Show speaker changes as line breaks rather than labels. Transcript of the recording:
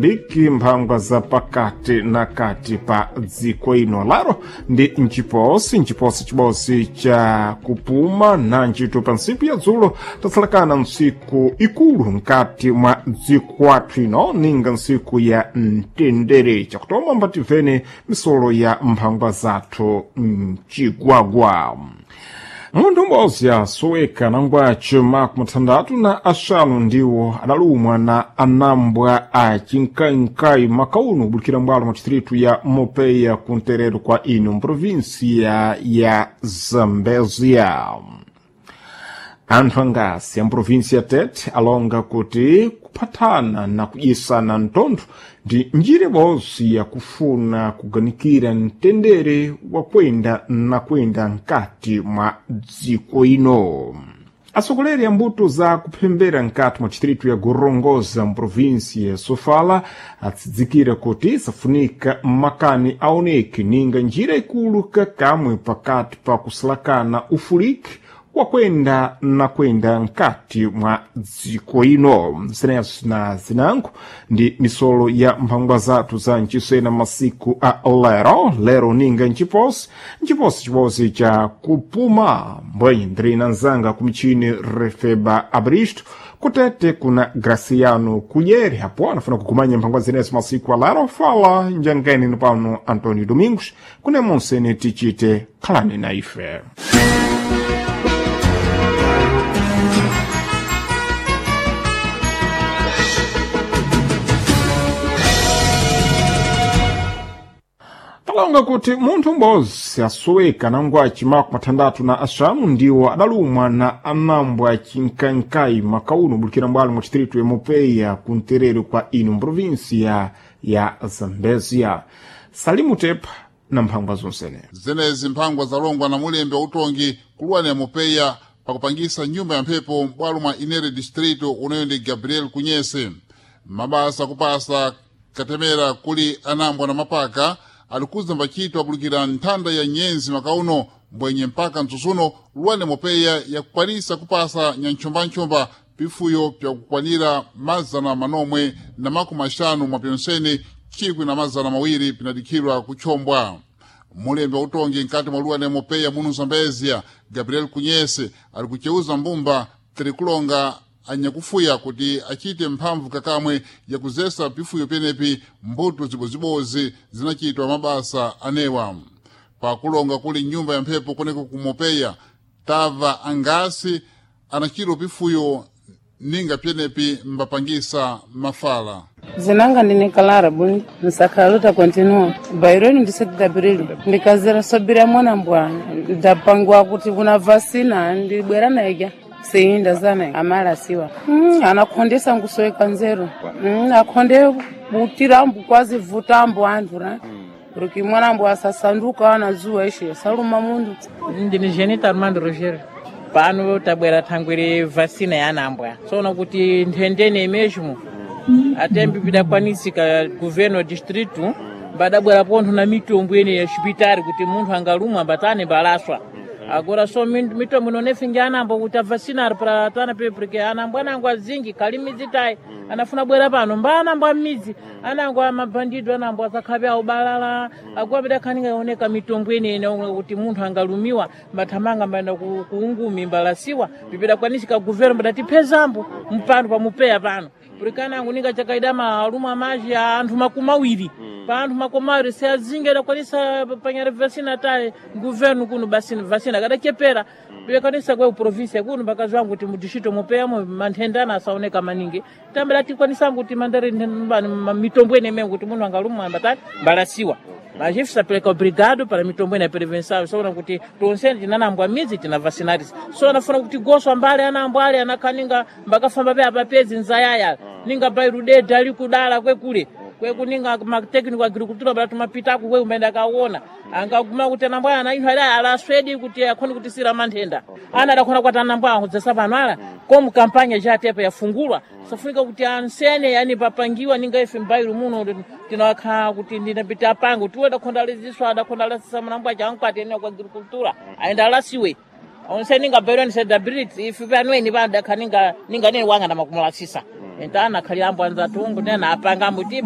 Mosambiki, mphangwa za pakati na kati pa dziko ino laro ndi mchiposi mchiposi chibosi cha kupuma na ntchito pa ntsiku ya dzulo tatsalakana ntsiku ikulu mkati mwa dziko athu ino ninga ntsiku ya mtendere. Chakutoma mbatimvene misolo ya mphangwa zathu mchigwagwa. Munthu umodzi asoweka nangwacho makumi athandathu na axanu ndiwo adalumwa na anambwa a chinkainkai makauno kubulikira mbwalo mwa distritu ya Mopeya kunterero kwa ino mprovinsia ya Zambezia. Anthu angasi a mprovinsia Tete alonga kuti kuphatana na kudyisana mtontho ndi njira ibodzi yakufuna kuganikira mtendere wakwenda na kwenda mkati mwa dziko ino. Atsogoleri a mbuto za kuphembera mkati mwa distritu ya Gorongosa mprovinsia ya Sofala atsidzikira kuti safunika makani aoneke ninga njira ikulu kakamwe pakati pa kusalakana ufuliki wakwenda na kwenda mkati mwa dziko ino. Zinezo na zinango ndi misolo ya mphangwa zathu za mchisena masiku a lero lero ninga mchiposi mchiposi chiposi cha kupuma mbwenye ndiri na nzanga kumichini Refeba Abristo kutete kuna Graciano Kunyeri apo anafuna kukumanya mphangwa zinezo masiku a lero. Fala njangeni pano Antonio Domingos kune monsene tichite khalani na ife. Talonga kuti munthu m'bodzi asoweka nangwaci makumi athandathu na axanu ndiwo adalumwa na anambwa achinkainkai makauno kubulikira mbwalo mwa distritu ya Mopeya kunterero kwa ino mprovinsia ya Zambezia. Salimu Tepa na mphangwa zonsene.
Zenezi mphangwa zalongwa na mulembe wa utongi kuluwani ya Mopeya pakupangisa nyumba ya mphepo m'bwalo mwa Inere distrito uneyo ndi Gabriel Kunyese. Mabasa kupasa katemera kuli anambwa na mapaka alikuza mbachito apulikira nthanda ya nyenzi makauno mbwenye mpaka mtsutsuno luwane mopeya yakukwanisa kupasa nyantchombanchomba pifuyo pyakukwanira mazana manomwe na makumi axanu mwa pyonsene 1200 pinadikhidwa kutchombwa. Mulembe wa utongi mkati mwa luwane mopeya muno Zambezia Gabriel Kunyese ali kuceuza mbumba tirikulonga anyakufuya kuti achite mphamvu kakamwe yakuzesa pifuyo penepi mbuto zibozibozi zinachitwa mabasa anewa. Pakulonga kuli nyumba ya mphepo kuneko kumopeya tava angasi anachitwa pifuyo ninga pyenepi mbapangisa mafala.
Zinanga ndine Clara Buni nsakhaluta continua baironi ndise Gabriel ndikazira sobira mwana mbwa ndapangwa kuti kuna vasina ndibwera naija seinda zana amala siwa anakhondesa nkusoweka nzeru akhonde butirambu kwazi vutambo anthu na porque mwanambo asasanduka anazuwa ishe saluma mundu.
Ndine Jenita Armando Rogério. Pano tabwera thangwere vacina ya anambwa tsono kuti nthendene mesmo atembi pidakwanisika governo distrito mbadabwera pontho na mitombo ene ya xipitari kuti munthu angalumwa mbatane mbalaswa. Agora so mitombo inonefingi anambo kuti avacinare para tana pe porque anambo anango azingi kali midzi tayi anafuna bwera pano mba anambo amidzi anango amabandido anambo asakhabe aubalala agora pidakhaninga ioneka mitombo ene ene kuti munthu angalumiwa mbathamanga mbayenda kuungumi mbalasiwa pipidakwanisika governo mbadatipezambo mpano pamupeya pano porque anango ninga chakaida maluma maji a anthu makumi awiri pa anthu makumi awiri se azingi adakwanisa panyari vacina tayi governo kuno basi vacina kadachepera pilekanisa kwe provinsia kuno pakazwangu kuti mudistrito mupeyamo manthendana asaoneka maningi tambela tikwanisangu kuti mandari mitombo ene mengo kuti munthu angalumwa ambatani mbalasiwa mas sapeleka obrigado para mitombo ene ya prevenção soona kuti tonsene tinanambwa midzi tina vacinarisa so anafuna kuti goswa mbali anambwa ali anakhaninga mbakafamba pe apapezi nzayaya ninga bairudedha ali kudala kwekule kwekuninga matécnico agricultura bala tumapitako kwe umene akaona angaguma kuti anambwa ana inthu ali alaswedi kuti akhone kutisira manthenda ana adakhona kuti anambwa akudzasa pano ala komu kampanya chatepa yafungulwa safunika kuti ansene yani papangiwa ninga ife mbairo muno tinakha kuti ndinapita apange tiwe adakhonda aliziswa adakhonda alasisa manambwa chankwati ene kwa agricultura ayenda alasiwe onse ninga bairo ni celebrity ife panweni pano dakha ninga ninga nene wanga ndamakumulasisa entana akhalira ambo anzatungu nena apanga ambo ti